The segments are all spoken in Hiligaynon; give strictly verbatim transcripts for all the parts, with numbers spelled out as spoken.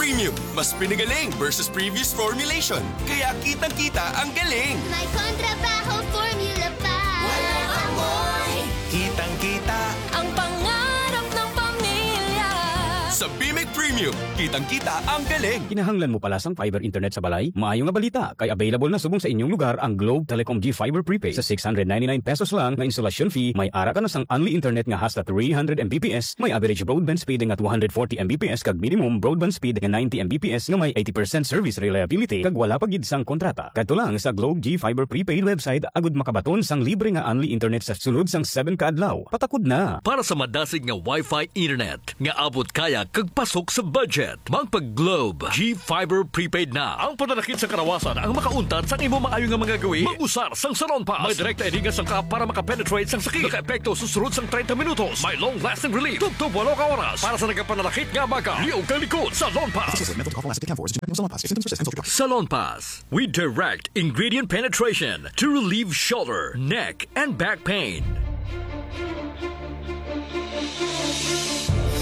Premium, mas pinagaling versus previous formulation. Kaya kitang-kita ang galing. May kontrabaho formula pa. Walang amoy. Kitang-kita. Ang pangarap ng pamilya. Sa Bimek Premium, kitang-kita ang galing. Kinahanglan mo pala sang fiber internet sa balay? Maayo nga balita, kay available na subong sa inyong lugar ang Globe Telecom G Fiber Prepaid. Sa six hundred ninety-nine pesos lang nga installation fee, may ara ka na sang only internet nga hasta three hundred M B P S, may average broadband speed nga two hundred forty M B P S, kag minimum broadband speed nga ninety M B P S nga may eighty percent service reliability, kag wala pa gid sang kontrata. Kadto lang sa Globe G Fiber Prepaid website agud makabaton sang libre nga only internet sa sulod sang seven ka adlaw. Patakod na! Para sa madasig nga Wi-Fi internet nga abot kaya kag pasok sa budget, magpa-Globe G Fiber Prepaid na. Ang pananakit sa kalawasan ang makauntat sa imo maayo nga mga gawi. Mag-usar sang Salon Pass. May direkta ini nga sangkap para maka-penetrate sang sakit. Nakaepekto sa sulod sang treinta minutos. May long-lasting relief tubtob walo ka oras. Para sa nagapananakit nga amaga, liog kag likod, Salon Pass. This is a method of Salon Pass. If symptoms persist, consult your doctor. Salon Pass. We direct ingredient penetration to relieve shoulder, neck, and back pain.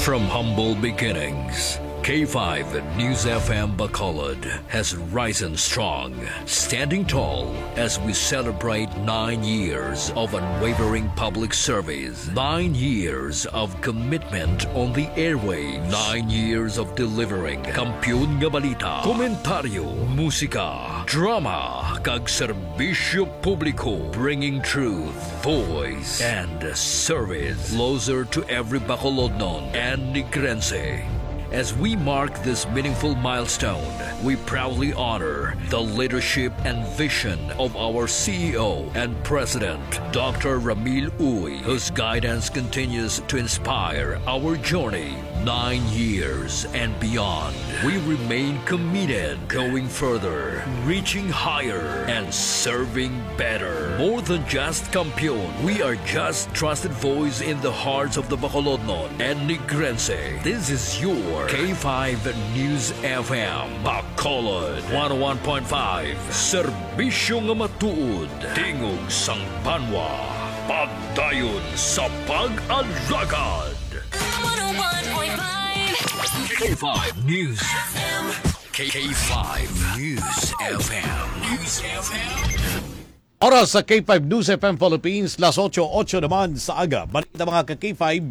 From humble beginnings, K five News F M Bacolod has risen strong, standing tall as we celebrate nine years of unwavering public service, nine years of commitment on the airwaves, nine years of delivering kampiyon nga balita, komentaryo, musika, drama, kag serbisyo publiko, bringing truth, voice, and service closer to every Bacolodnon and Negrense. As we mark this meaningful milestone, we proudly honor the leadership and vision of our C E O and President, Doctor Ramil Uy, whose guidance continues to inspire our journey. Nine years and beyond, we remain committed, going further, reaching higher, and serving better. More than just kampiyon, we are just trusted voice in the hearts of the Bacolodnon and Negrense. This is your K five News F M, Bacolod, one oh one point five. Serbisyo nga matuod, tingog sang banwa, pagdayon sa pag-alagad. One oh one point five. K five News. K five News F M. News F M. Oras sa K five News F M Philippines, las otso, otso naman sa aga. Balita, mga ka K five.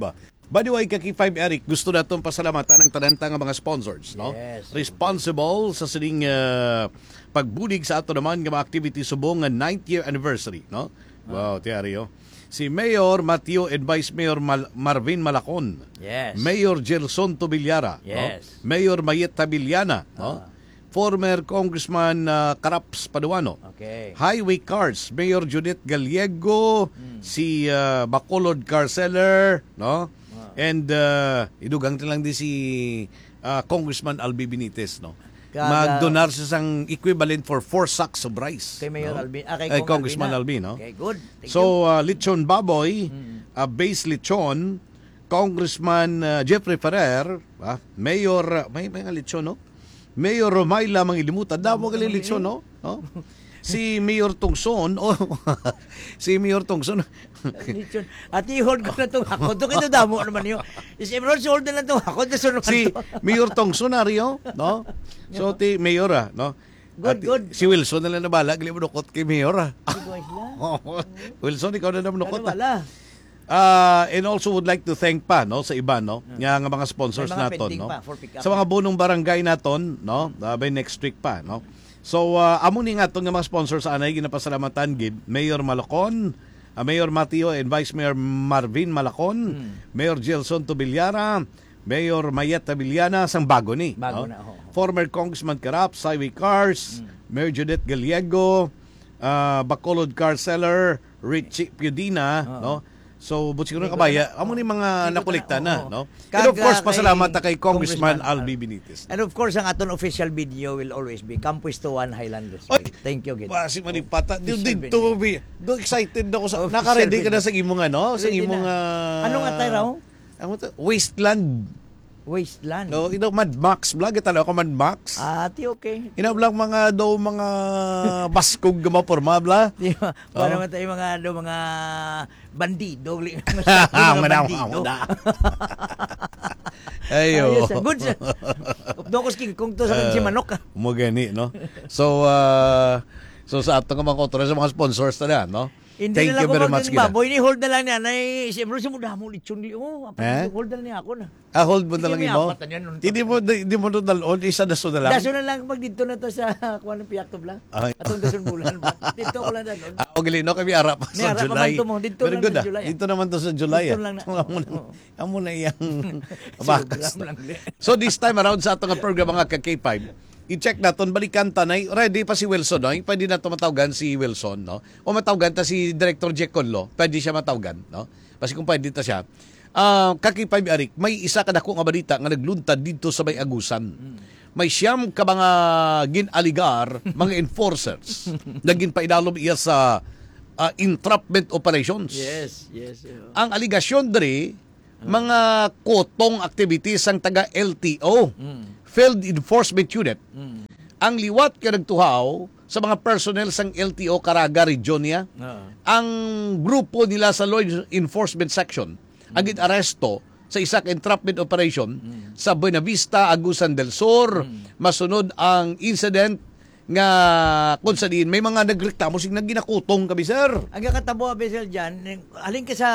By the way, ka K five Eric, gusto naton pasalamatan ang tanan ta nga mga sponsors, no? Yes. Responsible sa sining, ah, pagbulig sa ato naman nga mga activity subong nga ninth year anniversary, no? Ah. Wow, Tiario. Si Mayor Mateo and Vice Mayor Mal-, Marvin Malacon. Yes. Mayor Gelson Tobilara, no? Yes. Mayor Mayet Tabiliana, no? Ah. Former Congressman, ah, Caraps Paduano. Okay. Highway Cars, Mayor Judith Gallego, Hmm. si, ah, Bacolod Car Seller, no? Ah. And, ah, idugang na lang di si, ah, Congressman Albi Benitez, no? Kag, ah, magdonar siya sang equivalent for four sacks of rice, kay Mayor no? Albi, ah, kay Ay, Cong Congressman Albi, Albi, no? Okay, good. Thank So, you. ah, lechon baboy, Mm. ah, base lechon, Congressman, ah, Jeffrey Ferrer, ah, Mayor, ah, may, may nga lechon, no? Mayor Romayla Mangilimutan, damo Damo gali naman lechon, ini. no? No? Si Mayor Tungson, oh, si Mayor Tungson. Lechon. Ate, hold ko na tong hakot. Ito kayo damo naman yun. Is everyone, hold na lang tong hakot. Nasunod Si to. Mayor Tungson, Ario, no? So, ti Mayor, ah, no? Good, At good. si Wilson na lang nabala, gali mo dukot kay Mayor, ah. Sige, wala. Wilson, ikaw na naman Ano dukot, ah. wala? Ah, and also would like to thank pa, no, sa iba, no, Ah. nga, nga mga sponsors May mga naton, pending no? pa for pick up Sa mga na. bunong barangay naton, no, ah, by next week pa, no. So, ah, amo ni nga aton nga mga sponsors anay ginapasalamatan gid, Mayor Malacon, ah, Mayor Mateo and Vice Mayor Marvin Malacon, Hmm. Mayor Gelson Tobilara, Mayor Mayet Tabiliana, sang bago ni, Bago no? na, oo. Former Congressman Karap, Highway Cars, Hmm. Mayor Judith Gallego, ah, Bacolod Car Seller, Richie Piodina, Oo. no? So, but siguro May kabaya, gusto na. amo ni mga May gusto nakolekta na, na, oo. no? And Kag, of course, ah, pasalamat kay ta kay Congressman Congressman Albi Al- Benitez. And of course, ang aton official video will always be Campuestuan Highland Resort. Oy, Thank you, gid. Basi manipata. Di, Official di, video. to be, do excited na ko sa, Official naka-ready ka na video. sa imong ano? Sa Ready imong, na. ah, Ano nga tayo raw? Ano to? Wasteland. Wasteland. No, you know, Mad Max, bla, gitanaw ko Mad Max. Ah, ti okay. Ina bla mga daw mga baskog nga maporma, bla. Di ba? Para Oh. man tayo mga, ano, mga bandido, li-, Ang mga mga bandido. na. Ayo. Ayos, ah. Good, sir. Doon ko sa King Kong to sa Ah, si Manok, ah. Mo gani, no? So, ah, so sa ato nga mga author, sa mga sponsors na, no? Hindi Thank na lang you very kumain much, ng kita. Baboy. Ni-hold na lang niya. Nay, siyempre, sa muda mo, lechon di, oh, apa, Eh? Hold na lang niya ako na. Ah, hold mo na Sige, lang may imo? Apat na yan, nun. Hindi mo, di, di mo na dalon, isa na so na lang. Daso na lang pag dito na to sa kuha ng Piakto Blanc. Ay. Atong dason bulan ba? Dito ko lang dalon. Ah, okay, no, kami ara pa May sa ara pa July. Man to mo. Dito Very lang good, sa ah. July, ah. Dito naman to sa July, Dito ah. lang na. Amo na, Oo. amo na iyang Sobra bakas na. Lang, di. So, this time around sa ato nga program, mga ka-K five, i-check naton, balikan ta na, ready pa si Wilson, no? Pwede na to matawgan si Wilson, no? O matawgan ta si Director Jack Conlo, pwede siya matawgan, no? Basi kung pwede ta siya. Ah, ka-K five, Eric, may isa ka dako nga balita nga nagluntad dito sa may Agusan. Mm. May siyam ka mga gin-aligar, mga enforcers, na ginpaidalom iya sa, ah, entrapment operations. Yes, yes, yeah. Ang aligasyon diri, Ah. mga kutong activities sang taga L T O, Mm. Field Enforcement Unit. Mm. Ang liwat nga nagtuhaw sa mga personnel sang L T O Caraga Region niya, Ah. ang grupo nila sa Law Enforcement Section ang Mm. gin-aresto sa isa ka entrapment operation Mm. sa Buenavista, Agusan del Sur. Mm. Masunod ang incident nga kung sa diin may mga nagreklamo sing nagginakutong kami, sir. Ang kakatabo, Abisel, dyan, halin ka sa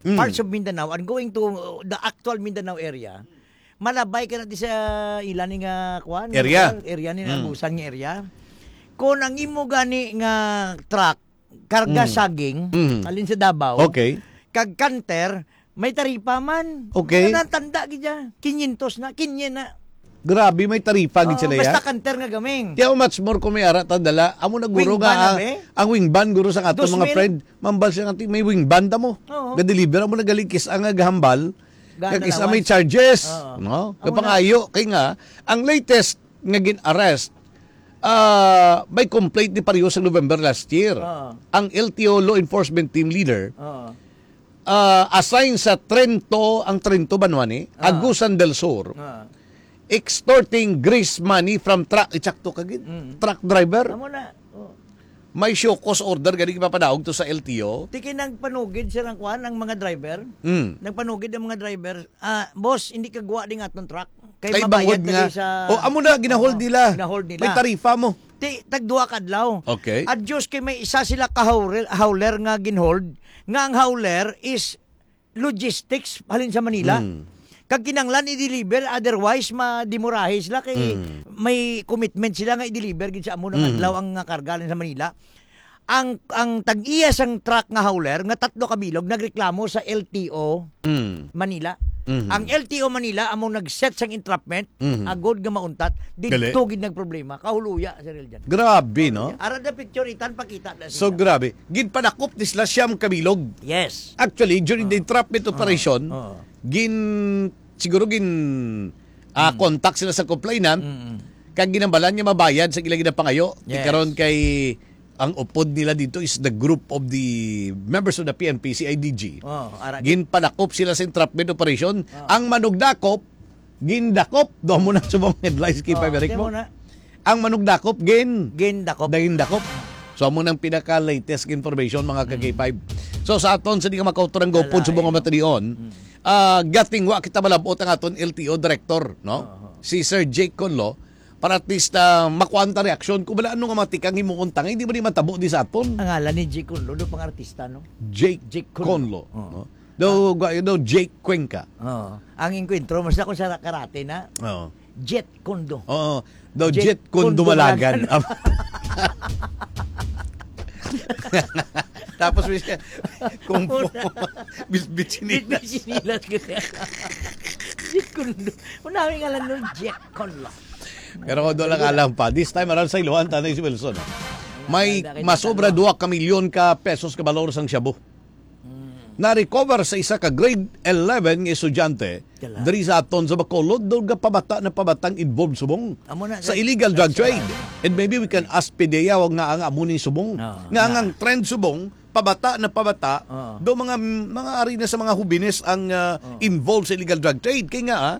Mm. parts of Mindanao and going to the actual Mindanao area, malabay ka na di sa ila ni nga, kuwan, Area. Area ni Mm. Agusan nga area. Kung ang imo gani nga truck, karga Mm. saging, Mm. alin sa Davao, Okay. kag canter, may taripa man. Okay. Wala na, tanda gid siya. Kinyentos na, kinye na. Grabe, may taripa gid Oo, sila, basta ya? Canter nga gaming. Tiyaw, much more kung may ara ta dala. Amo na guro Wing nga van na, ang, be? ang wing van guro sa ato Dos mga mil? friend. Mambal siya nga, "Ti, may wing van ta mo." Oo. Ga-deliver mo na galing kis-a nga gahambal. Gana Kag isa may lawas. charges, Oo. no? Amo na. Kapangayo, kay nga, ang latest nga gin-arrest, ah, may complaint ni pareho sa November last year. Oo. Ang L T O law enforcement team leader, Oo. ah, assigned sa Trento, ang Trento ba naman eh? Oo. Agusan del Sur. Oo. Extorting grease money from truck, itsakto ka gid. Mm. Truck driver. Amo na. Oo. May show cause order gani ipapadaog to sa L T O. Ti kay nagpanugid sila ang kwan, ang mga driver. Mm. Nagpanugid ang mga driver. "Ah, boss, hindi ka guwa ding aton truck. Kay Kay mabayad bangod ka nga, di sa" oh, amo na, ginahold Oo, nila. ginahold nila. May tarifa mo. Ti, tagduha ka adlaw. Okay. At Diyos, kay may isa sila ka hauler, hauler nga ginhold, nga ang hauler is logistics halin sa Manila. Mm. Kag kinanglan i-deliver, otherwise madimurahe sila kay Mm. may commitment sila nga i-deliver gid sa amo ng Mm. adlaw ang nga karga halin sa Manila. Ang, ang tag-iya sang truck nga hauler nga tatlo ka bilog nagreklamo sa L T O Mm. Manila. Mhm. Ang L T O Manila amo nag-set sang entrapment, Mhm. agod nga mauntat, Gali. didto gid nagproblema. Kahuluya, Sir Eljan. Grabe, no? Ara the picture, itan pakita na So, sila. grabe. Ginpadakop ni sila siyam ka bilog. Yes. Actually, during the Oh. entrapment Oh. operation, Oh. gin-, siguro gin-, ah, Mm. contact sila sa complainant, Mm-mm. kag ginambalan nga mabayad sa ila ginapangayo. Yes. Karon kay ang upod nila dito is the group of the members of the P N P, C I D G. Oh, ara. Ginpadakop sila sa entrapment operation. Oh. Ang manugdakop, gindakop. Daw mo na subong headlines kay Oh, Pabrik mo. Mo na. Ang manugdakop, gin-, Gindakop. gindakop. So, amo nang pinaka-latest information, mga ka-K five. Mm. So, sa aton, sa di ka makautor ang gopod Wala, subong eh. nga matalion, Mm. ah, gating wa kita malabot ang aton L T O director, no? Oo. Si Sir Jake Conlo, para at least, ah, makuha ta reaksyon kung wala ano nga matikang himuon ta nga hindi ba ni matabo di sa aton? Ang ngalan ni Jake Conlo, do pang artista, no? Jake Jake Conlo. Conlo, Oo. no? Daw, gwa-, daw Jake Cuenca. Oo. Ang engkwentro, mas ako sa karate na. Oo. Jet Kondo. Oo. Daw Jet Jet Kondo Kondo Malagan. Malagan. Tapos may siya, kung po, Una. Bisbit sinilas. Bisbit sinilas ko siya. Jet Kondo. Unawi nga lang nun, Jet Kondo. Pero kung doon lang alam pa, this time around sa Iloan, tanay si Wilson. May Ang ganda, masobra ganda. Dua ka milyon ka pesos ka balor sang shabu. Mm. Na-recover sa isa ka grade eleven nga estudyante Kala. diri sa aton sa Bacolod, daw nga pabata na pabatang involved subong Amo na, sa sir. illegal drug That's trade. right. And maybe we can ask Pidea nga ang amo ni subong. Oo, Nga nga. ang trend subong, pabata na pabata, Oo. do mga, mga ari na sa mga hubines ang, ah, Oo. involved sa illegal drug trade. Kay nga, ah,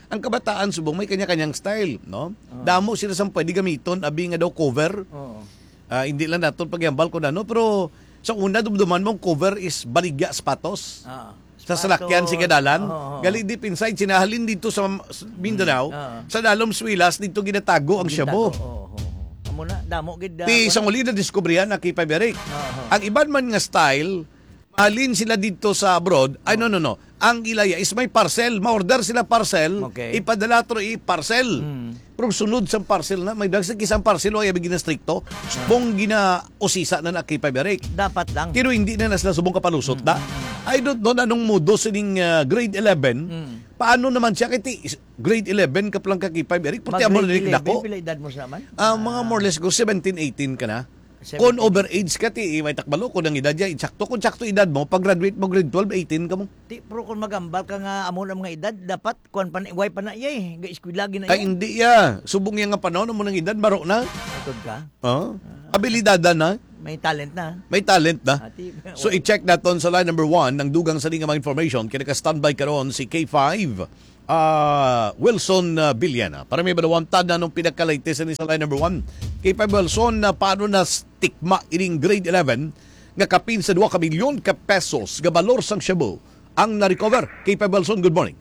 ang kabataan subong may kanya-kanyang style, no? Oo. Damo sila sang pwede gamiton, abi nga daw cover. Oo. Ah, hindi lang naton paghambal kung ano, pero sa una, dumduman mo, ang cover is baligya sapatos. Ah. Sa salakyan, sa Baton. Gadalan. Oo, oo. Gali deep inside, sinahalin dito sa, sa Mindanao, Mm, oo. Sa Dalom Swilas, dito ginatago ang shabu. Gintago, oo, oo, oo. Amo na, damo gid, ah, Ti wala. Sang uli na diskubrihan na kay Paberic. Oo, oo. Ang iban man nga style, mahalin sila dito sa abroad. Ay, no, Oo. no, no. Ang ilaya is may parcel. Ma-order sila parcel, Okay. Ipadala to i parcel. Mm. Pero sunod sa parcel na, may dagsa kisang parcel, wala yung ginastrikto. Ah. Subong ginausisa na na kay Paberic. Dapat lang. Pero hindi na na sila subong kapalusot Mm, na. Mm, mm. I don't know na anong modo sining, ah, grade eleven. Mm. Paano naman siya? Kay ti-, grade eleven ka pa lang ka kay Paberic, pati Mag amo na grade rin eleven, dako. Pila edad mo sa man? Ah, mga Ah. More or less ko, seventeen, eighteen ka na. Seventeen. Kung overage ka, ti, may takbalo, kung ang edad niya, insakto, kung sakto edad mo, pag graduate mo, grade twelve, eighteen ka mo. Ti, pero kung magambal ka nga amo na mga edad, dapat, kuwan pa na, way pa na iya eh. Ga-eskwela gid na Ay, iya. Hindi iya. Subong iya nga panahon, amo nang edad, baro na. Matod ka? Oh. Ah. Abilidada na. May talent na. May talent na. Ati, So, wala. I-check naton sa line number one, ang dugang sa mga information, kaya naka-standby karon si K five. Ah, Wilson, ah, Villena. Para may balawantad na nung pinakalatest ni sa line number one. Kay pa Wilson, na paano na tikma ining grade eleven nga kapin sa dua ka milyon ka pesos nga balor sang shabu ang na-recover? Kay pa Wilson, good morning.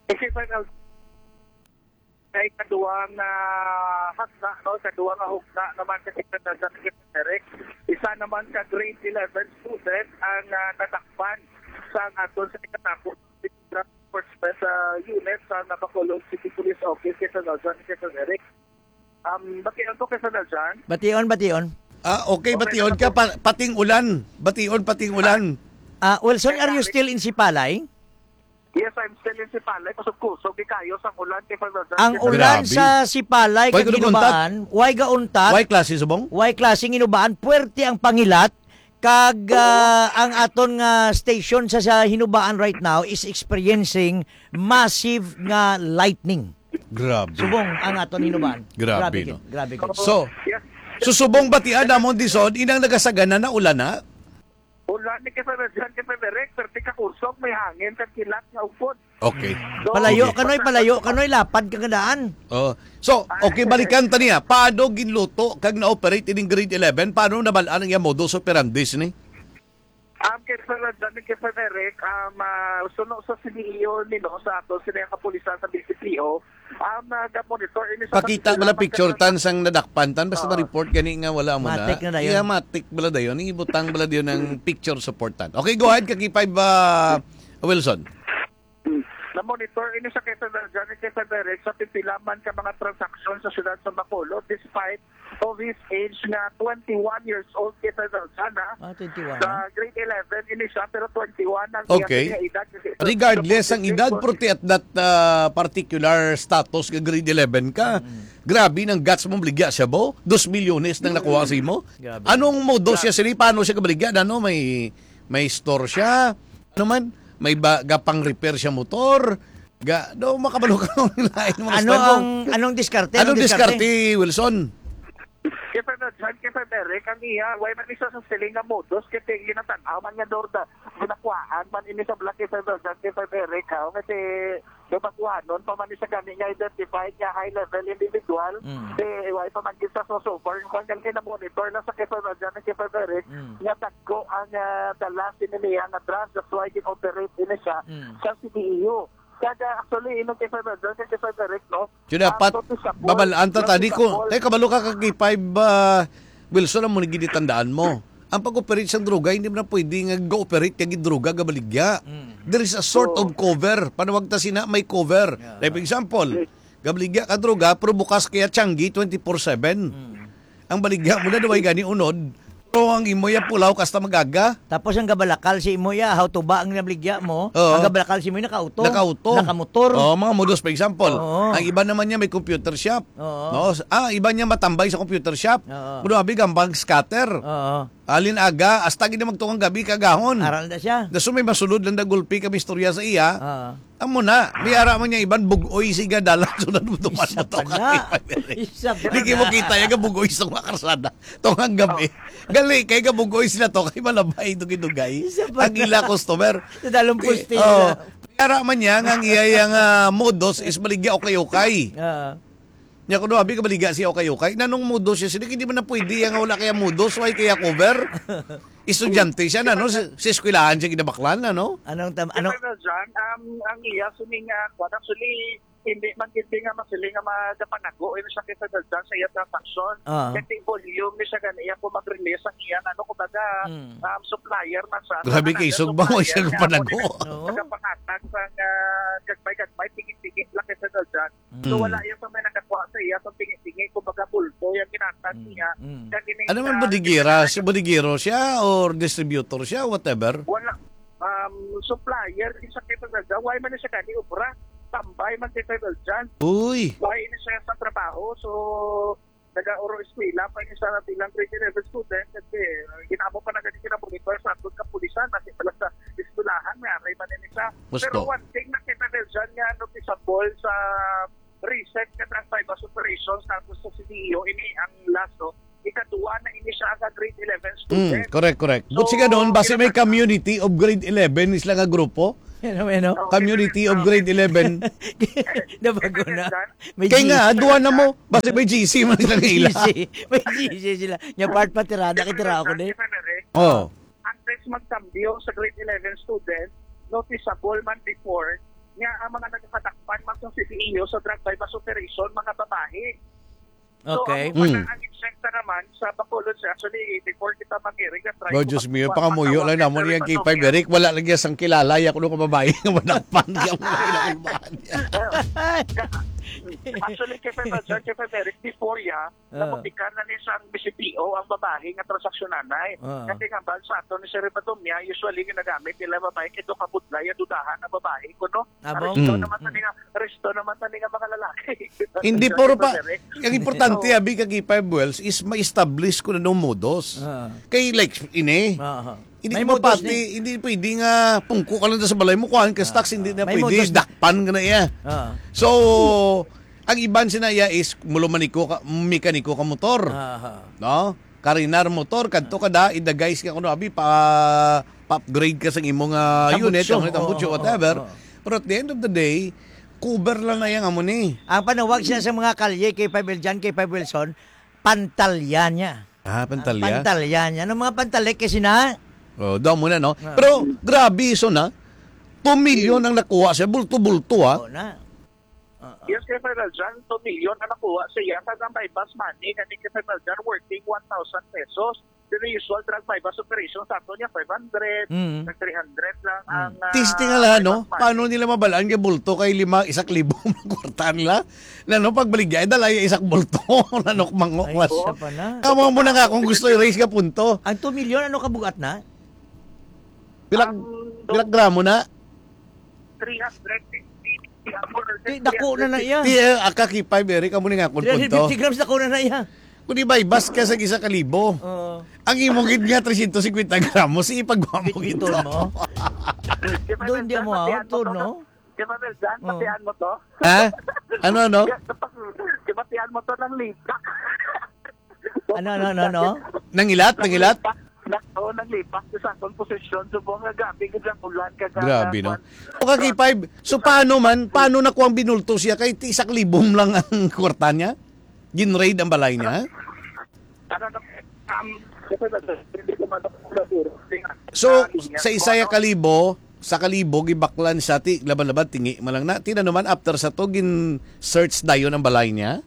Kasi pa kay kaduwang, ah, hagna, no? Kaduwang nga hugna naman sa Secretary Eric. Isa naman ka grade eleven student ang, ah, nadakpan sa aton sa ikatapo sa Enforcement, ah, Unit sa Bacolod City Police Office kay Sir Naljan, kay Sir Eric. Um, bation ko kay Sir Naljan. Bation, bation. Ah, okay, Okay, bation ka, pa-, pating ulan. Bation, pating ulan. Ah, Wilson, are you still in Sipalay? Yes, I'm still in Sipalay. Kusog-kusog, di kayo sa ulan, kay Sir Naljan, Ang kay Sir ulan Grabe. Sa Sipalay, Way kag kuno untat? Hinubaan, way gauntat, Way klase subong? Way klase hinubaan, puwerte ang pangilat, kag, ah, ang aton nga station sa, sa Hinubaan right now is experiencing massive nga lightning. Grabe. Subong ang aton Hinubaan. Grabe, Grabe no? gid, grabe gid. So, Yes. so subong batian namon dison, inang nagasagana na ulan na? Ulan ni kay Sir Naljan, kay Sir Eric, pero di ka kusog, may hangin, kag kilat nga upod. Okay. So, Palayo Okay. kanoy, palayo kanoy, lapad ka nga daan. Oh. So, okay, balikan ta niya. Paano ginluto kag na-operate ining grade eleven? Paano nabal-an ang iyang modus operandi sini? Um, kay Sir Naljan, kay Sir Eric, um, ah, suno sa C D E O nino, sa ato, sila yung kapulisan sa B C P O, um, ah, ga-monitor ini sa Pakita pagpila bala picture magkatapos. Tan sang nadakpan tan, basta Oo. ma-report gani nga wala mo na. Matik na dayon. Iya, matik bala dayon. Ibutang bala dayon ang picture support tan. Okay, go ahead, Kaki Five, ah, Wilson. Hmm. Na-monitor ini sa Quezon Region, kay Sir Eric, sa pipila man ka mga transaksyon sa siyudad sa Bacolod, despite of his age nga twenty-one years old, kay Sir Zalzan, ha? Ah, twenty-one, Sa ha? grade eleven ini siya, pero twenty-one ang iya Okay. kanya edad. Kasi Regardless ang edad, Twenty-one. Purti at that, ah, particular status nga grade eleven ka, Mm. grabe nang guts mong baligya siya, bo. Dos milyones nang nakuha sa imo. Grabe. Anong modus siya, Grabe. sini? Paano siya kabaligya? Ano, may, may store siya? Ano man? May ba, gapang repair siya motor? Ga, do, makabalo ka ng lain mga Ano style mo. ang, anong diskarte? Anong Anong diskarte? diskarte, Wilson? Kay Sir John, kay Sir Eric, ang iya, way man isa sa siling nga modus, kay tingin na tanaw man nga do, da, ginakuhaan man ini sa black kay Sir John, kay Sir Eric, ha? Kasi, do, baguhanon pa man isa gani nga identified nga high level individual, Mm. eh, way pa man isa so, so far, yung kwan, kay na-monitor na sa kay Sir John, kay Sir Eric, Mm. nga dagko ang, ah, dala sini niya nga drugs, that's why gin-operate ini siya Mm. sa C D E U. Kada, actually, inong kay Sir John, kay Sir Eric, no? Yun, Ang dapat noticeable, babalaan ta tani ko. noticeable. Kay kabalo ka, Kaki Five, ah, Wilson, ang muna ginitandaan mo. Ang pag-operate sa droga, hindi mo na pwede nga go-operate kag droga gabaligya. Mm. There is a sort Oo. of cover. Panawag ta sina, may cover. Yeah. Like, for example, Yes. gabaligya ka droga, pero bukas kaya tiyanggi twenty-four seven. Mm. Ang baligya mo na, duway gani unod, pero ang imo ya pulaw kasta magaga. Tapos ang gabalakal si imo ya, how to ba ang nabaligya mo? Oo. Ang gabalakal si imo ya nakauto. Nakauto. Nakamotor. Oo, mga modus, for example. Oo. Ang iba naman niya may computer shop. Oo. No? Ah, iba niya matambay sa computer shop. Oo. Pero abi gambang scatter. Oo. Alin aga, hasta gid magtukang gabi kagahon. Aral na siya. Daso may masulod lang na gulpi kami istorya sa iya. Oo. Amo na, may ara man niya iban, bug-oy siga dalan, sunod mo tuman Isa mo to pa na. ka. Isa pa Di kayo na. mo kita yung bug-oy sa mga karsada. Tungang gabi. Gali, kay ka bug-oy sila to, kay malabay, dugay-dugay. Isa pa Ang na. ila customer. Sa dalong Di, pusti oh, na. may ara man niya, nga ang iya yung, ah, modus is maligya okay-okay. Ah. Nya kuno abi ka baligya siya okay-okay. Nanong modus siya? Sila hindi man na pwede, nga wala kaya modus, why kaya cover? Estudyante siya na, no? Si, si eskwelahan siya ginabaklan na, no? Anong tam-, ano? Kay Colonel John, um, ang iya sining, ah, kwan, actually, hindi man gid nga masiling nga magapanago ini siya kay Colonel John sa iya transaksyon. Ah. Kay volume ni siya gani iya kung mag-release ang iya, ano, kumbaga, Mm. um, supplier man sa Grabe kay another Sugba, supplier siya nga panago. Amo ni Oo. nagapangatag sa, ah, gagmay-gagmay, tingi-tingi lang kay Colonel John. So, Mm. wala yung may nakakuha sa iya, kung tingi-tingi, kumbaga, bulto yung ginatag Mm. niya. Mm. Kag ini Ano man, sa bodegira? Si bodeguero siya or distributor siya, whatever? Wala. Um, supplier, di sa kay Pagdalda, why man siya gani obra? Tambay man kay Pagdalda. Uy. Why na siya sa trabaho? So, nag-auro eskwela pa ni sa bilang grade eleven student kasi, uh, ginamo pa na gani kina monitor sa atong kapulisan, kasi pala sa eskwelahan, may aray man ni siya. Gusto. Pero one thing na kita dyan nga noticeable sa recent nga drug buy-bust operation sa ato sa C D E O, ini ang last, no? Ikaduha na ini siya nga grade eleven Mm, student. Correct, correct. So, But siya doon, basi may kinapag- community of grade eleven sila nga grupo? Ano, ano? Oo, Community of kinapag- grade eleven. Nabago na. May Kaya nga, G C. duha na mo. Basi may G C man sila nga ila. G C. May G C sila. Nya part pa, tirada, kay tira ako ni. Kinapag- Oh. Ang test magkambyo sa grade eleven student, noticeable man before, nga ang mga nagkadakpan man sa C D E O sa drug buy-bust operation, mga babae. So, Okay. ang Mm. mga ang eksakta naman sa Bacolod, sir, actually, before kita mag-hearing, na-try Oh, ko Diyos mag-, mio, mag-, pangamuyo lang magtawag namon pero yung K five, iba to, Eric. Wala lagi sang kilala, ya, kuno ka babae nga madakpan, yung mga ilang babae. Actually, K five, sir, K five Eric, before, ya, Ah. nabutikar na ni sang B C P O ang babae nga transaksyon nanay. Ah. Kasi nga, bal sa ato ni Sir Ribadomia, usually ginagamit nila babae kay do kabudlay, dudahan ang babae, kuno. Amo? Resto Mm. naman tani nga, resto naman tani nga mga lalaki. Hindi, Sir puro pa, Ribadomia. ang importante, Oo. abi, kag K five Wells, is ma-establish ko na nung modus. Ah. Kay, like, ini, Aha. hindi May modus mapati, ni. hindi pwede nga pungko ka lang sa balay mo, kuhaan ka Ah, stocks, hindi ah. na May pwede, modus ni. dakpan ka na iya. Ah. So, ang iban sina iya is, mulo maniko ka, mekaniko ka motor. Aha. No? Karinar motor, kadto ka da, idagay siya kuno, abi, pa, pa-upgrade ka sa imong, ah, Tambutso. unit, ang tambutso, Oo, whatever. oo, oo. Pero at the end of the day, cover lang na yang amo ni. Ang panawag siya sa mga kalye, K five Eljan, K five Wilson, pantalya niya. Ah, pantalya? Ang pantalya niya. Anong mga pantalya? Kasi na? Oh, daw mo na, no? Ah. Pero, grabe, so na, two million ang nakuha siya, bulto-bulto, ah. Oo na. Oo. Yes, K five Eljan, two million ang nakuha siya. Sa drug buy-bust money, kani K five Eljan, worth one thousand pesos. Dili usual drug buy-bust operation sa ato niya, five hundred, Mm. nag three hundred lang Mm. ang, ah, Testing nga lang, no? buy-bust money. Paano nila mabalaan nga bulto kay lima, isak libo ang kwarta nila? Na, no, pagbaligya, ay dala yung isak bulto. Nanok mango, Ay, mas. isa pa na. Kamo mo na nga kung gusto i-raise ka punto. Ang two million, ano kabugat na? Pilag, Ang pilag gramo na? Three hundred fifty. Di, dako na na iya. Ti, eh, aka K five, Eric, amo ni nga akong punto. Three hundred fifty grams, dako na na iya. Kung di ba, ibas ka sa isa ka libo. Oo. Ang imo gid nga trescientos cincuenta gramos, ipagwa mo gid Bitbiton to. mo. Doon di mo Matian out, mo to, no? Di ba, Beldan? Oo. Matian mo to? Ha? Ano, ano? Di ba, matian mo to ng litak? Ano, ano, ano, ano? Nangilat, nangilat? Nako, naglipas ko sa akong posisyon. Subong nga grabe gid ang ulan, kag Grabe, no? kwan. O, ka K five, so paano man, paano na kuwang binulto siya kay ti-, isak libong lang ang kwarta niya? Gin-raid ang balay niya? Ano na, um, kasi na, hindi ko man ako siguro. So, Ano niya, sa isa ya kung ano kalibo, sa kalibo, gibaklan siya, ti, laban-laban, tingi man lang na. Ti, ano man, after sa to, gin-search dayon ang balay niya?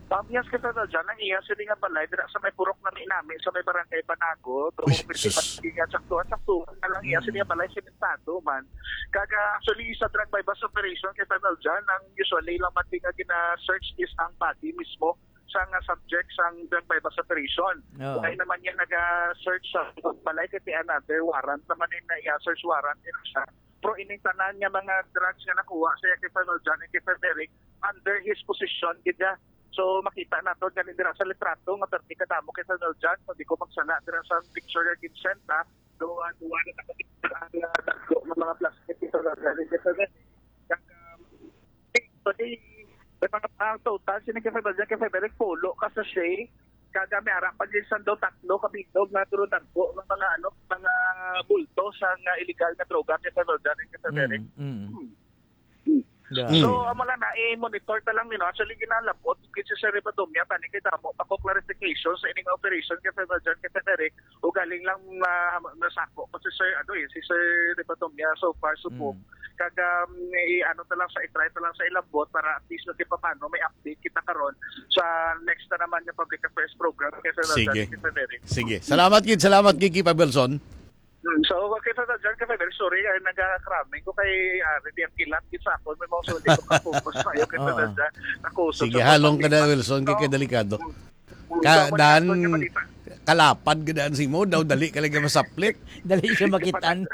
Um, yes, kasi na dyan, ang iya, sila nga balay, dira sa may purok na may namin, sa may barangay Banago, Uy, pero kung sus. Hindi nga saktuhan, saktuhan na lang iya, Mm. sila nga balay, simentado man. Kaga, actually, sa drug buy-bust operation, kay Colonel John, ang usually lang man nga gina-search is ang body mismo sa nga subject sang drug buy-bust operation. Oo. Wala naman niya naga-search sa balay, kay another warrant naman yung na iya, search warrant yun siya. Pero ining tanan nga mga drugs nga nakuha sa kay Colonel John and kay Colonel Eric, under his possession gid niya. So, makita nato gani dira sa litrato nga perti kadamo kay Colonel John. So, di ko magsala dira sa picture nga ginsend, ha. So, ang duwa na nakakita ang, ah, dagko nga mga plastic kay Colonel John and kay Colonel Eric. Kag, um, actually, may mga, ang total, sino kay Colonel John, kay Colonel Eric, pulo ka sachet. Kag may ara pa gid sa daw tatlo ka bilog nga duro dagko nga mga, ano, mga bulto sa nga illegal nga droga kay Colonel John and kay Colonel Eric. Mm, mm. Hmm. Yeah. Mm. So, amo lang na, i-monitor ta lang nino. Actually, ginalabot gid si Sir Ribadomia, tani kay damo pa ko clarification sa ining operation kay Sir Rajan, kay Sir Eric, o galing lang na nasako ko si Sir, ano eh, si Sir Ribadomia so far, subong. Mm. Kag, um, i-, ano ta lang sa, i-try ta lang sa ilabot para at least, kay paano may update kita karon sa next na naman nga public affairs program kay Sir Rajan, Sige. kay Sir Eric. Sige. Salamat gid, salamat gid, Kipa Wilson. Hmm, so, okay, Sir John, kasi very sorry, ay nagakraming ko kay, ah, hindi ang kilat, gid sa akon, may mga sulit ko ka-focus na yun, kay Sir Oo. John, nakusog Sige, sa halong ka na, pagkakita. Wilson, kay So, kadelikado. mm, mm, Ka, so, wala dan, akong balita. Kalapad ka daan si mo, daw dali ka lang masaplit. Dali siya makitan.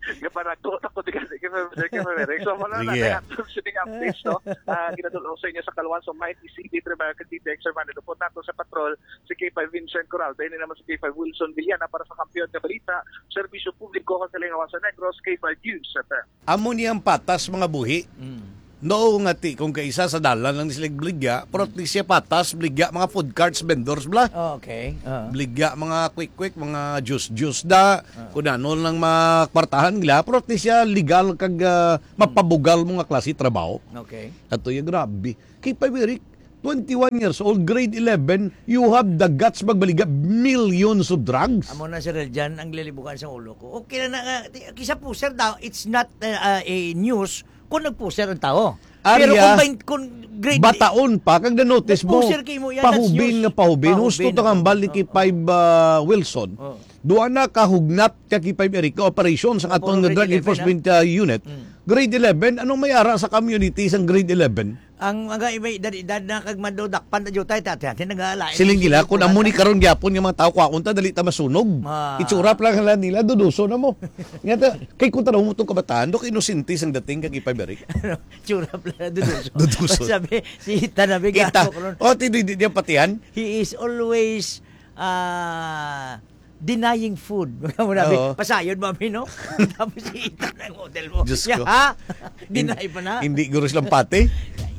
Kapanagot ako di kasi, kay Sir John, kay Sir Eric. So, wala na, Sige. kaya atong sining updates, no? Ah, ginadulong sa inyo sa Kalwan, so, may D C D, Tribal, kag D T X, Sir Manny, lupon nato sa patrol, si K five Vincent Coralde, ini naman si K five Wilson Villana para sa Kampiyon nga Balita, Serbisyo Publiko, Kalingawan sa Negros, K five News F M. Amo ni ang patas, mga buhi. Mm. No, nga ti, kung kaisa sa dalan lang ni sila bligya, pero at least siya patas, bligya mga food carts, vendors bla. Oh, okay. Ah. Bligya mga quick-quick, mga juice-juice da, Ah. kung ano lang makwartahan nila, pero at least siya legal kag, ah, mapabugal mo nga klase trabaho. Okay. Ato yung grabe. Kay pa, Eric, twenty-one years old, grade eleven, you have the guts magbaligya millions of drugs? Amo na, Sir Eljan, ang lilibukan sa ulo ko. Okay na na nga, ti-, kisa pusher daw, it's not, uh, uh, a news kung nagpusher ang tao. Pero Arya, kung bain-, kung grade bataon pa, kag na-notice mo, nagpusher kay mo, yan, that's pahubin news. nga pahubin. Pahubin Husto to ang ang hambal ni pahubin. Kipay, uh, Wilson. Oo. Duha na kahugnat ka Kipay Eric nga operasyon sa Opo, aton nga grade Drug eleven, Enforcement, ah. uh, Unit. Mm. Grade eleven, anong may ara sa community sang grade eleven? Ang mga iba, edad-edad na kag madudakpan na jutay, tati, tati, nagalain Siling ang nila, sipon kung amo ni natin. Karon gyapon nga mga tao, kwaon ta, dali ta masunog. Ah. Itsura pa lang nila, duduso na mo. Nga ta, kay kung tanaw mo tong kabataan, do, inosente sang dating kag ipabiri. Ano, tsura pala, duduso. Duduso. Sabi, si Tanabe Kita. Gato, karon. Oh, ti, di, di, di, patihan? He is always, ah, denying food. Mga mo nabi, Oo. Pasayod mo, abi, no? Tapos si Ethan ang model mo. Diyos Siya, ko. Ha? Deny pa na. Hindi guro silang pati.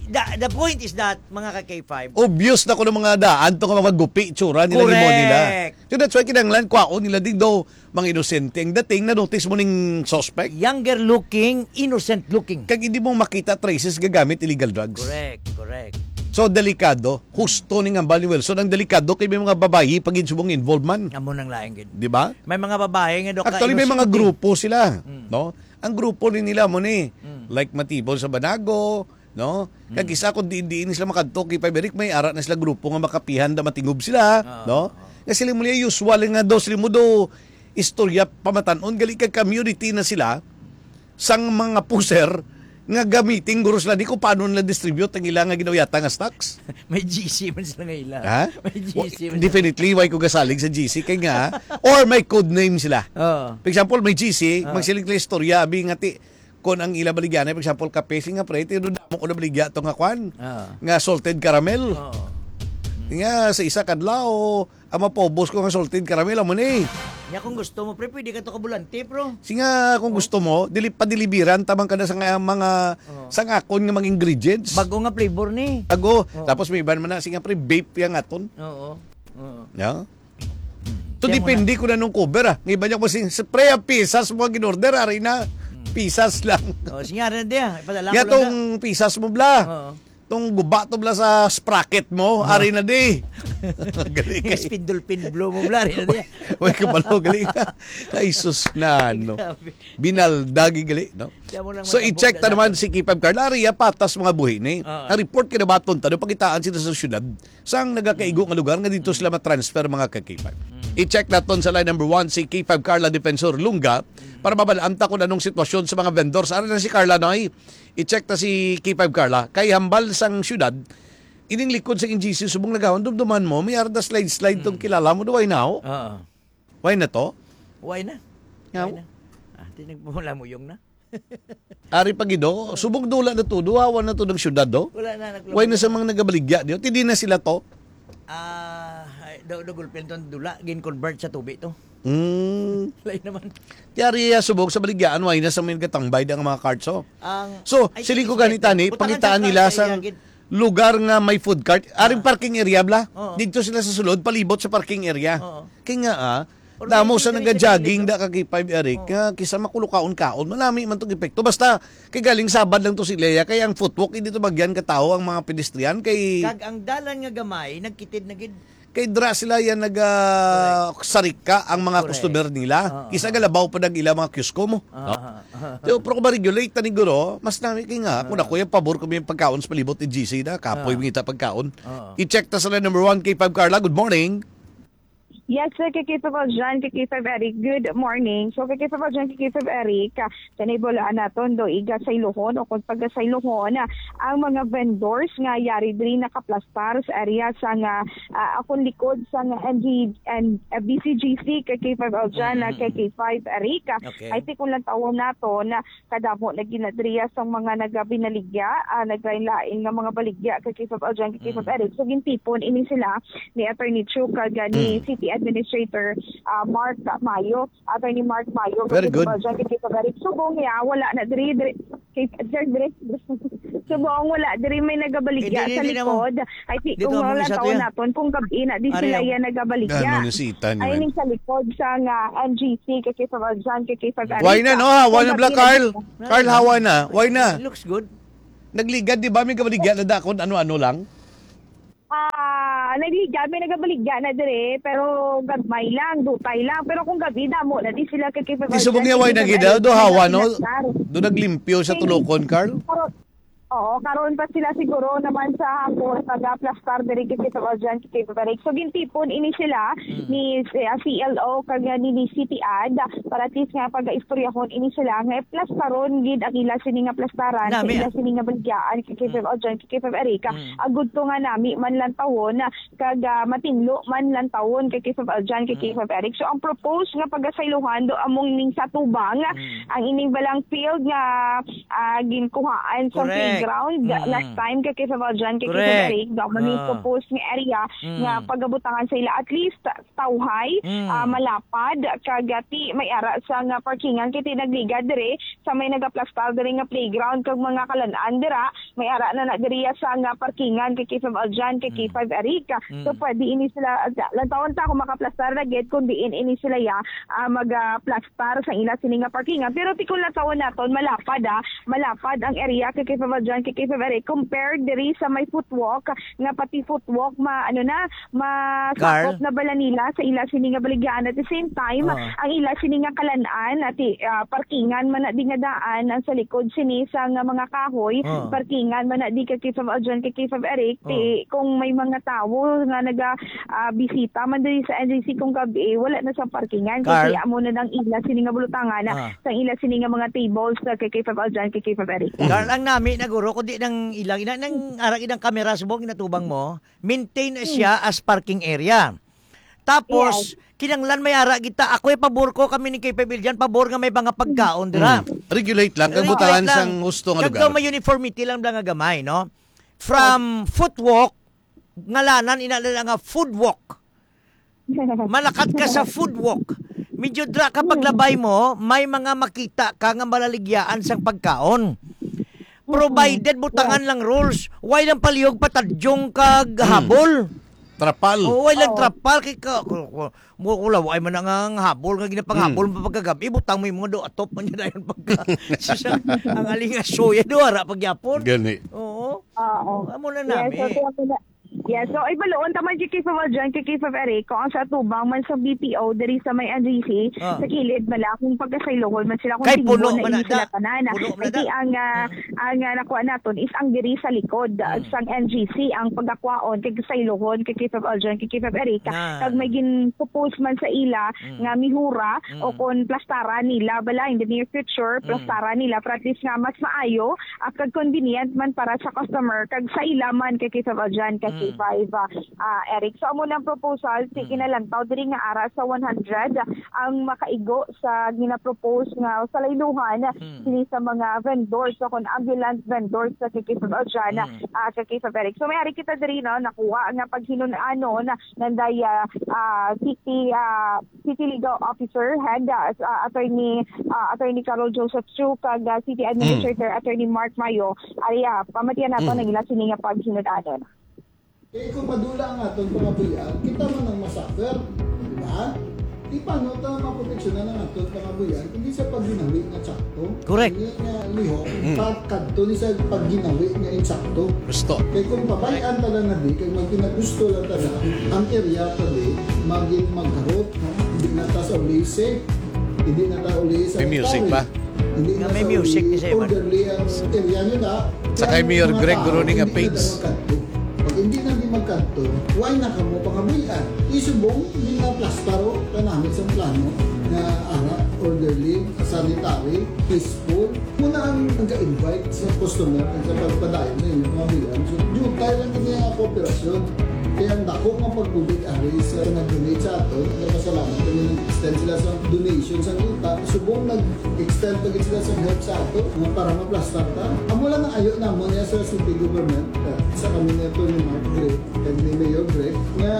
The, the point is that, mga ka K five, Obvious na ko ng mga daan to nga mga gupi, tsura nila, himo nila. Correct. So that's why kinahanglan, kwaon nila din daw, mga inosente. Ang dating, na-notice mo ning suspect? Younger looking, innocent looking. Kag hindi mo makita traces gagamit illegal drugs. Correct, correct. So, delikado. Husto ning hambal ni Wilson. Ang delikado kay may mga babayi pa gid subong involved man. Amo nang lain gid. Di ba? May mga babae nga do Actually, may mga grupo sila, Mm. no? Ang grupo ni nila mo ni, Mm. like Matibon sa Banago, no? Kag Mm. isa kung diin-diin sila makadto kay Pabrik, may ara na sila grupo nga makapihan da matingob sila, Ah, no? ah. Nga sila mo niya usual nga do, sila mo do istorya pamatanon, gali kag community na sila sang mga puser nga gamitin guro sila di kung paano nila distribute ang ila nga ginauyatan nga stocks. May G C man sila nga ila. Ha? May G C Wa-, man sila. Definitely, why ko gasalig sa G C? Kay nga, or may code name sila. Oo. For example, may G C, Oo. magsiling sila istorya, abi nga ti, kung ang ila baligyan ay, for example, kape, sing nga pre, tiro damo ko na baligya to nga kwan, Oo. nga salted caramel. Oo. Nga sa isa kadlaw, ang mapaubos ko nga salted caramel, amo ni. Nya kung gusto mo, pre, pwede ka to kabulante, bro. Sige nga, kung Oh. gusto mo, dili, padilibiran, tabang ka na sa nga, mga, Oh. sa nga akon nga mga ingredients. Bago nga flavor ni. Bago. Oh. Tapos may iban man na, sige nga, pre, vape yang aton. Oo. Oo. Ya? To Kaya mo depende na. ko na nung cover, ah. Ng iba niya ko sing, "Pre, ang pisas mo ang in-order, ari na." Hmm. Pisas lang. Oh, sige nga, rin, di, ah. Ipadala ko Ya lang tong na. pisas mo, bla. Oo. Tong guba to, bla, sa sprocket mo, Ah. ari na di. Galing. Yes, pindol, pin, blow mo, bla, ari na di. Way kabalo, galing. Ay, sus na, no. Grabe. Binaldagi, gali, no? Kaya mo lang So, matabo i-check na ta naman lang. si Kipab Carla. Ari, ah, patas mga buhi ni. Oo. Ang report kinabaton ta, no, pakitaan sila sa syudad. Sang nagakaigo nga lugar nga dito sila matransfer, mga ka-K five. Mm. I-check naton sa line number one si K five Carla Defensor Lunga Mm. para mabalaan ta kung anong sitwasyon sa mga vendors. Ari na si Carla, no? Ay, i-check ta si K five Carla. Kay hambal sang syudad, ining likod sa N G C subong nagawon, dumduman mo, may arda slide-slide tong Mm. kilala mo, duway na, oh. Oo. Why na to? Why na? Nga, Why na? Ah, di nagmumula mo yung na. Ari pa gid, oh. Subong dula na to, duwawan na to ng syudad, oh. Wala na, nagluto Why na na. sa mga nagabaligya, di, oh? Ti di na sila to? Ah, ay, daw, daw gulpin to, dula, gin-convert sa tubi to. Mm. Lain naman. Ti ari, ah, subong sa baligyaan, why na sa may gatambay ang mga carts, oh. Ang, So, ay, siling ko sige, ganita ni, utangan pangitaan sa nila sa sa area, gid. lugar nga may food cart. Aring Ah. parking area, bla. Oo. Dito sila sa sulod, palibot sa parking area. Oo. Kaya nga, ah, Damo sa nag-jogging, da ka K five, Eric, Oh. nga kisa makulo kaon-kaon, manami man tong epekto. Basta, kay galing sabad lang to si Lea, kay ang footwalk, hindi to bagyan ka tao ang mga pedestrian, kay Kag ang dalan nga gamay, nagkitid na gid. Kay dra sila yan nag, ah, Correct. sarika ang mga Correct. customer nila. Ah, Kisa ah. galabaw pa nag ila mga kiosko mo. Ah, No? ah, ah. So, pero kung ma-regulate na ni guro, mas nami kay nga, kung Ah. ako yung pabor ko may pagkaon sa palibot ni G C na, kapoy Ah. mangita pagkaon. Ah. I-check ta sa line number one, K five Carla. Good morning. Yes, sir. Kay K five Aljan, kay K five Eric. Good morning. So, kay K five Aljan, kay K five Eric, ah, kanay bulaan naton do iga sa Ilohon o kung pagka sa Ilohon, ah, ang mga vendors nga yari diri nakaplastar sa area sa nga, ah, akong likod sa nga N G, and, ah, B C G C, kay K five Aljan, ah, Mm. kay K five Eric. Ah, Okay. I think kung lang tawon nato na kadamo na ginadriya sang mga nagabinaligya, ah, naglain-lain nga mga baligya kay K five Aljan, kay K five Mm. Eric. So, gintipon ini sila ni Attorney Chu kag, ah, ni Mm. City Administrator, ah, Mark Mayo. Attorney Mark Mayo, Very kay K five good. Aljan, kay K five Eric. Subong niya, wala na diri, diri, kay, diri, diri. Subong wala diri may nagabaligya Hindi, sa hindi, hindi naman. likod. I think Dito kung ang wala isa to taon yan. naton, kung gabi na, di Ari sila ako. yan nagabaligya. Ano na si Ethan, Ay, man? ning sa likod sa nga N G C, kay K five Aljan, kay K five Why na, Eric. no? Hawa Kung na bala, gabi na Carl? dito. Carl, hawa na. Why na? It looks good. Nagligad, di ba? May kabaligya na dakon, ano-ano lang. Ah, nagligad, may nagabaligya na dire, pero gagmay lang, dutay lang. Pero kung gabi, damo na di sila kay Di subong niya, why na gid, ah? Do hawa, no? Nagplastar. Do naglimpyo sa Kay tulokon, Carl? Pero, oo, karon pa sila siguro naman sa hapon, pag-aplastar diri kay K five Aljan, kay K five Eric. So, gintipon ini sila Mm. ni, ah, C L O kag ni, ni City Ad para at least nga pag-istoryahon ini sila nga plastaron gid ang ila sini nga plastaran, sa Nami, ila ah. sini nga baligyaan kay K five Mm. Aljan, kay K five Eric. Mm. Agud to nga nami man lantawon kag, ah, matinlo man lantawon kay K five Aljan, kay Mm. K five Eric. So, ang propose nga pagasaylohan do among ning sa tubang, Mm. ang ining balang field nga, ah, ginkuhaan sa Correct. playground Mm. last time kay K five Aljan, kay K five Correct. Eric. Do man ning Ah. propose nga area Mm. nga pagabutangan sa ila at least tawhay, Mm. ah, malapad, kag, ah, ti may ara sa nga parkingan, kay ti nagligad dire sa may nagaplastar dire nga playground kag mga kalan-an dira, may ara na na diri sa nga parkingan kay K five Aljan, kay Mm. K five Eric. So, Mm. pwede ini sila, ah, lantawon ta kung makaplastar na gid, kung diin ini sila ya, ah, magaplastar sa ila sini nga parkingan. Pero ti kung lantawon naton, malapad, ah, malapad ang area kay K five Aljan, kay K five Eric, compared diri sa may footwalk, nga pati footwalk ma-, ano na, masakop Carl? na bala nila sa ila sini nga baligyan. At the same time, Ah. ang ila sini nga kalan-an, ati, ah, parkingan man na di nga daan, ang sa likod sini sa nga mga kahoy, Ah. parkingan man na di kay K five Aljan, kay K five Eric, ti, Ah. kung may mga tawo nga naga, ah, bisita man diri sa N G C kung gabi, wala na sa parkingan. Carl? Kay amo na nang ila sini nga bulutangan, Ah. sa ila sini nga mga tables, ah, kay K five Aljan, kay K five Eric. Carl, ang nami na guro, kundi nang ilang, ina-, nang arang ilang kamera, subong inatubang mo, maintain na siya as parking area. Tapos, Yes. kinanglan may ara kita. Ako'y pabor ko, kami ni K five Aljan, pabor nga may mga pagkaon dira. Mm. Regulate lang, kang Regulate butangan lang. sang husto nga Kag lugar. daw may uniformity lang, lang nga gamay, no? From footwalk, ngalanan ina nila nga food walk. Malakat ka sa food walk. Medyo dra ka paglabay mo, may mga makita ka nga malaligyaan sang pagkaon. Provided butangan lang rules, why lang palihog patadyong kag Mm. habol? Trapal. Oo, why lang Oo. trapal kay ka, ku-, ku-, mo ko law, ay man nga ang habol nga ginapanghabol Mm. mo pagkagabi, butang mo yung mga do atop man niya dayon pagka. Sus, ang, ang aling asoya do ara pagyapon. Gani. Oo. Oo. Amo na Yes, nami. so, kaya pala, yes, so, ay, baloon, taman kay K five Aljan, kay K five Eric, kung ang sa atubang man sa B P O, diri sa may N G C, Ah. sa kilid man lang, kung pagkasaylogon man sila, kung Kay tinggo puno na man ini na sila da. tanan. Puno man na Ay, di da. ang, ah, Mm. ang, ah, nakuha naton is ang diri sa likod, ah, Mm. sang N G C, ang pagkakwaon, kay kasaylogon, kay K five Aljan, kay K five Eric, Na. kag may gin-propose man sa ila, Mm. nga mihura, Mm. o kung plastaran nila, bala, in the near future, Mm. plastaran nila, para at least nga mas maayo, ah, kag convenient man para sa customer, kag sa ila man kay K five Aljan, kag Mm. K five, ah, ah, Eric. So, amo nang proposal, si Mm. kinalantaw diri nga ara sa one hundred ang makaigo sa ginapropose nga sa layluhan Mm. sini sa mga vendors, so kung ambulant vendors sa kay K five Aljan, Mm. ah, kay K five Eric. So, may ari kita diri, no, nakuha nga paghinun-anon nanday, ah, ah, city, ah, City Legal Officer, head, ah, s-, ah, Attorney, ah, Attorney Carol Joseph Chu, kag, ah, City Mm. Administrator Attorney Mark Mayo. Ari, ah, pamatian nato Mm. ang ila sini nga paghinun-anon. Eh, kung madula ang aton pangabuhian, kita man ang masuffer, di ba? Paano ta maproteksyonan ang aton pangabuhian kung di sa pagginawi nga tsakto? Correct. Hindi nga lihok, Mm. pagkadto ni sa pagginawi nga insakto. Gusto. Kay kung pabay-an ta lang na di, kay magpinagusto lang ta na, ang area ta di, maging magharot, no? Hindi na ta sa ulisi, hindi na ta ulisi sa May music pare. pa? Hindi Nga na may sa music uli-, ni Simon. orderly ang area nila. Sa kay Ang Mayor mga Greg tao, Groning nga hindi na page. daw magkadto. Pag hindi na di magkadto, why na kamo pangabuhian? Isubong, di na plastaro, kanami sa plano nga ara, orderly, sanitary, peaceful. Muna ang nag-invite sa customer at sa pagpadayon sa inyong pangabuhian. So, jutay lang kini nga kooperasyon. Kaya ang dako nga pagbulig ari sa nag-donate sa aton, nagpasalamat kami, nag-extend sila sa donation sa yuta. Subong nag-extend pa gid sila sa help sa ato nga para maplastar ta. Amo lang ang ayo namon niya sa city government, uh, sa kami ni Attorney Mark Gray, kag ni Mayor Gray, nga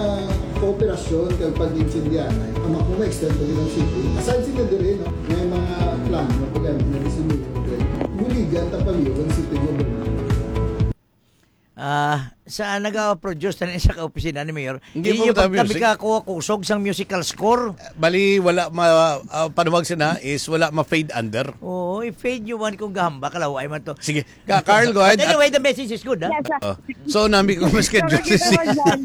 kooperasyon kag pag-intindihanay. Ang ako ma-extend pa gid ang city. Aside sila diri, no, may mga plano pa gani na si Mayor Gray. Buligan ta pa gid ang city government. Ah, sa nag-produce na sa ka-opisina ni Mayor, Hindi inyo pa pagtabi music. Ka kuha kusog sang musical score. Bali, wala ma, ah, panuwag sina is wala ma-fade under. Oo, i-fade nyo man kung gahamba, kalaway man to. Sige. Ka, Carl, go ahead. But anyway, the message is good, ha? Yes, sir. Oh. So, nami ko mas kay Sorry, Justice. Sir Ron.